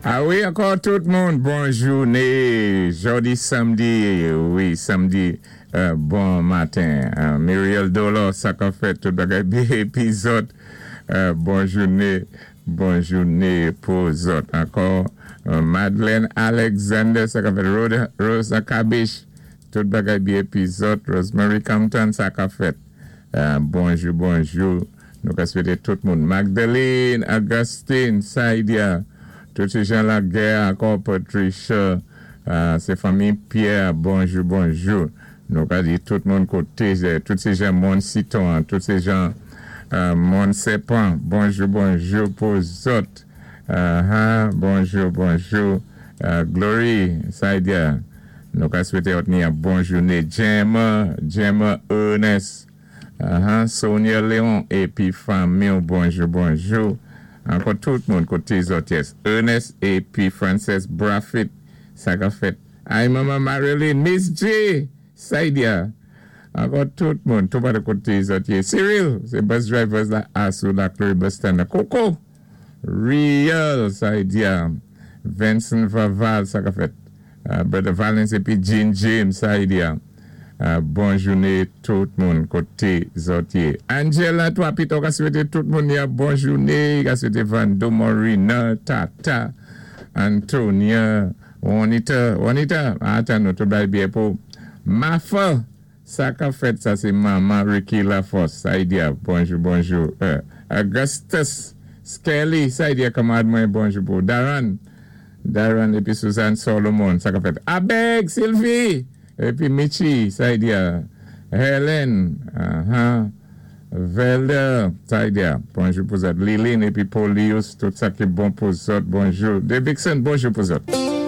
A wi, ankò tout moun, bon jouné, jòdi sanmdi, wi, sanmdi, bon maten. Muriel Dolor, sa k ap fèt, tout bagay byen, épi zòt, bon jouné, bon jouné pou zòt. Ankò, Madeleine Alexander, sa k ap fèt, Rosa Cabish, tout bagay byen, épi zòt, Rosemary Compton, sa k ap fèt, bonjou, bonjou. Nou ka swété tout moun. Magdalene, Augustine, Saidia, tout sé Jean Laguerre, ankò Patricia, sé fanmi Pierre, bonjou, bonjou. Nou ka di tout moun koté, tout sé jan Mòn Siton, tout sé jan Mòn Sèpan, bonjou, bonjou pou zòt. Bonjou, bonjou. Glory, Saidia, nou ka swété òt ni yon bon jouné. Gemma, Gemma Ernest. Ahan Sonia Leon épi fanmiw bonjou bonjou ankò tout moun koté zòt yes Ernest épi Frances Braffit sa kap fèt ay manman Marilyn Miss G Saidia ankò tout moun tou patou koté zòt yé Cyril sé bus drivers la asou la Chloé bus stand nan koko real Saidia Venson Vaval sa kap fèt Brother Valens epi Jean James Saidia bon joune tout moun kote zòt ye Angela 3 pito ka swete tout moun ya bon joune ka swete Vando Morina Tata Antonia Juanita Juanita atan nou tout bay byen pou Mafa sa kap fèt sa se manman Ricky Laforce Saidia bonjou bonjou Augustus Skelly Saidia kanmarad mwen bonjou pou Daran Darren épi Suzanne Solomon sa kap fèt Abeg Sylvie épi Mitchie Saidia Helen ahan Velder Saidia bonjou pou zòt Liline épi Polius tout sa ki bon pou zòt bonjou Davidson bonjou pou zòt.